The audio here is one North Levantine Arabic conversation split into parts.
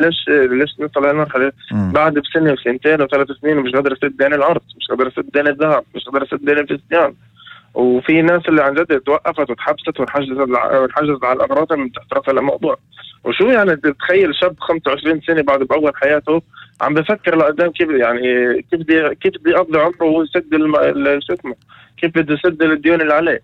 ليش نوصل لهالمرحلة بعد بسنة وسنتين وثلاث سنين ومش قادر أسد دين الأرض، مش قادر أسد دين الذهب، مش قادر أسد دين الفستيان. وفي ناس اللي عن جد توقفت وتحبست وانحجزت على الأغراض من تحت رأس الموضوع. وشو يعني تتخيل شاب 25 سنة بعد بأول حياته عم بفكر لقدام كيف يعني كيف بدي أقضي عمره وهو يسد شو اسمه، كيف بده يسد الديون اللي عليه.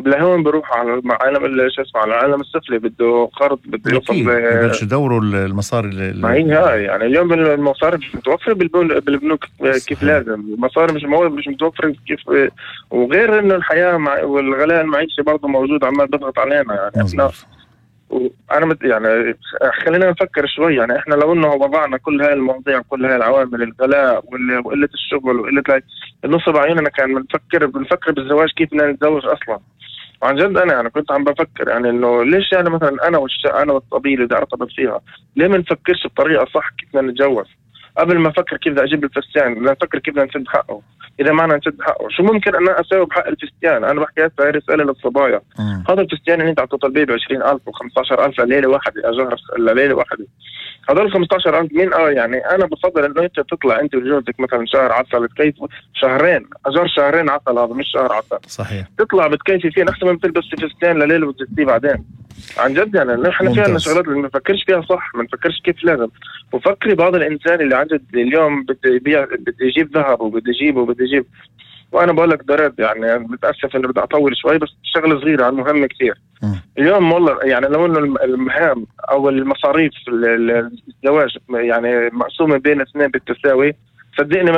لهون بروح على عالم شو اسمه، على العالم السفلي، بده قرض، بده يوصل يبلش يدوروا المصاري ما هي هاي. يعني اليوم المصاري مش متوفرة بالبنوك كيف لازم، المصاري مش متوفرة كيف. وغير انه الحياة والغلاء المعيشي برضه موجود عمال بضغط علينا. يعني احنا وانا يعني خلينا نفكر شوي. يعني احنا لو انه وضعنا كل هاي المواضيع كل هاي العوامل، الغلاء وقلة الشغل وقلة نصب عيوننا، كان بنفكر بالزواج كيف بدنا نتزوج اصلا. وعن جد انا كنت عم بفكر يعني انه ليش يعني مثلا انا والطبيب اللي بدي ارتبط فيها ليه ما نفكرش بطريقه صح كيف بدنا نتجوز؟ قبل ما افكر كيف بدي اجيب الفستان بدنا نفكر كيف بدنا نسد حقه. اذا معنا نسد حقه شو ممكن انا اسوي بحق الفستان؟ انا بحكي هسه رساله للصبايا. هذا الفستان اللي انت عم تطلبيه ب 20,000 و15,000 لليله واحده، اجار لليله واحده، هذول 15,000 مين؟ يعني انا بفضل انه انت تطلع انت وجوزك مثلا شهر عسل تكيفوا، شهرين اجار، شهرين عسل، هذا مش شهر عسل صحيح، تطلع بتكيفي فيه احسن من تلبس فستان لليله وتزتيه بعدين. عن جد يعني نحن فينا شغلات اللي ما نفكرش فيها صح، ما نفكرش كيف لازم. وفكري بعض الانسان اللي عن جد اليوم بده يجيب ذهب وبده يجيب وانا بقول لك درد، يعني متاسف انه بدي اطول شوي بس شغله صغيره عن مهم كثير. اليوم والله يعني لو انه المهام او المصاريف الزواج يعني مقسومه بين اثنين بالتساوي، صدقني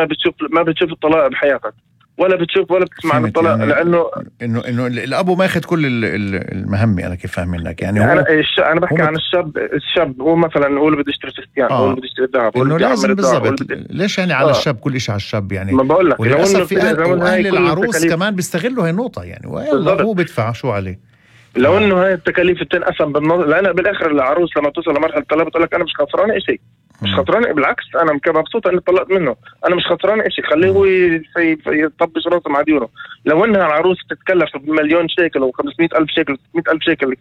ما بتشوف الطلاق بحياتك، ولا بتشوف ولا بتسمع عن الطلاق. يعني لانه انه الابو ما ياخذ كل المهمه. انا كيف فاهم منك يعني انا بحكي عن الشاب هو مثلا هو اللي بده يشتري فستان، هو اللي بده يشتري ذهب، انه لازم بالضبط. ليش يعني على الشاب كل شيء على الشاب يعني؟ ما بقول لك وللاسف في اهل العروس كمان بيستغلوا هاي النقطه يعني، هو بدفع شو عليه. لو انه هاي التكاليف بتنقسم لان بالاخر العروس لما توصل لمرحله الطلاق بتقول لك انا مش خسران شيء، مش خسران، بالعكس انا مبسوط اني طلقت منه، انا مش خسران شيء، خليه هو يطبش راسه مع ديونه. لو انها العروس تتكلف بمليون شيكل و500,000 شيكل و600,000 شيكل،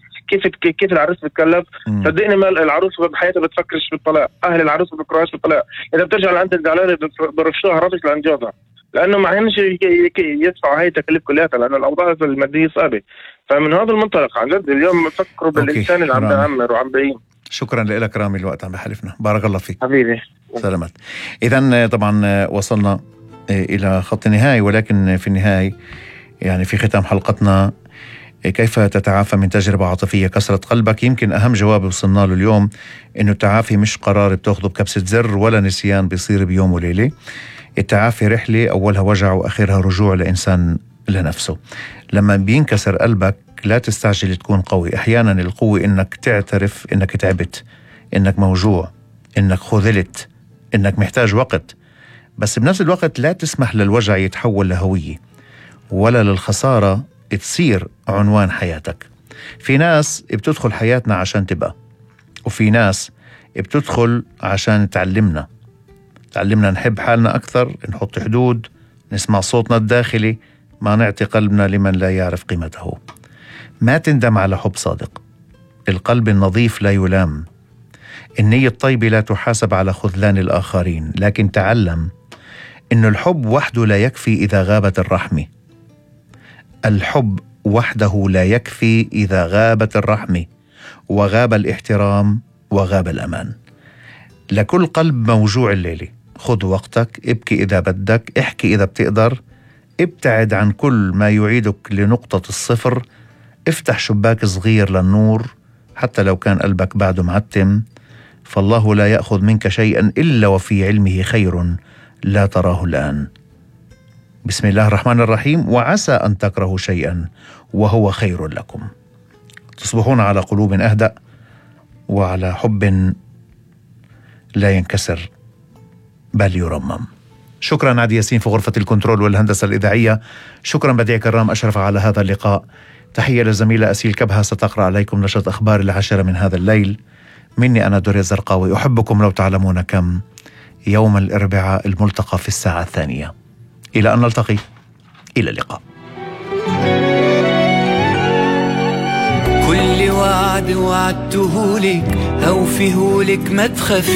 كيف العروس بتتكلف؟ صدقني ما العروس بحياتها بتفكرش بالطلاق، اهل العروس ما بفكروش بالطلاق. اذا بترجع لعند الزعلانه برفشوها رفش لعند جوزها، لانه ما عندهمش يدفعوا هاي التكاليف كلها، لانه الاوضاع الماديه صعبه. فمن هذا المنطلق عن جد اليوم فكروا بالإنسان اللي عم بيعمر وعم بيعين. شكرا لك رامي، الوقت عم بحلفنا. بارك الله فيك حبيبي، سلامات. إذن طبعا وصلنا إلى خط النهاية، ولكن في النهاية يعني في ختام حلقتنا كيف تتعافى من تجربة عاطفية كسرت قلبك؟ يمكن أهم جواب وصلنا له اليوم إنه التعافي مش قرار بتاخده بكبسة زر، ولا نسيان بيصير بيوم وليلة. التعافي رحلة أولها وجع وآخرها رجوع لإنسان لنفسه. لما بينكسر قلبك لا تستعجل تكون قوي. أحيانا القوة إنك تعترف إنك تعبت، إنك موجوع، إنك خذلت، إنك محتاج وقت. بس بنفس الوقت لا تسمح للوجع يتحول لهوية، ولا للخسارة تصير عنوان حياتك. في ناس بتدخل حياتنا عشان تبقى، وفي ناس بتدخل عشان تعلمنا نحب حالنا أكثر، نحط حدود، نسمع صوتنا الداخلي، ما نعطي قلبنا لمن لا يعرف قيمته. ما تندم على حب صادق. القلب النظيف لا يلام. النية الطيبة لا تحاسب على خذلان الآخرين. لكن تعلم إن الحب وحده لا يكفي إذا غابت الرحمة. الحب وحده لا يكفي إذا غابت الرحمة، وغاب الاحترام، وغاب الأمان. لكل قلب موجوع الليلة خذ وقتك، ابكي إذا بدك، احكي إذا بتقدر، ابتعد عن كل ما يعيدك لنقطة الصفر، افتح شباك صغير للنور حتى لو كان قلبك بعده معتم. فالله لا يأخذ منك شيئا إلا وفي علمه خير لا تراه الآن. بسم الله الرحمن الرحيم. وعسى أن تكرهوا شيئا وهو خير لكم. تصبحون على قلوب أهدأ وعلى حب لا ينكسر بل يرمم. شكرا عادي ياسين في غرفة الكنترول والهندسة الإذاعية. شكرا بديع كرام أشرف على هذا اللقاء. تحية للزميلة أسيل كبهة ستقرأ عليكم نشرة أخبار 10 من هذا الليل. مني أنا دوري الزرقاوي، أحبكم لو تعلمون كم. يوم الأربعاء الملتقى في الساعة 2. إلى أن نلتقي، إلى اللقاء. كل وعد وعدتهولك هوفيهولك ما تخافي.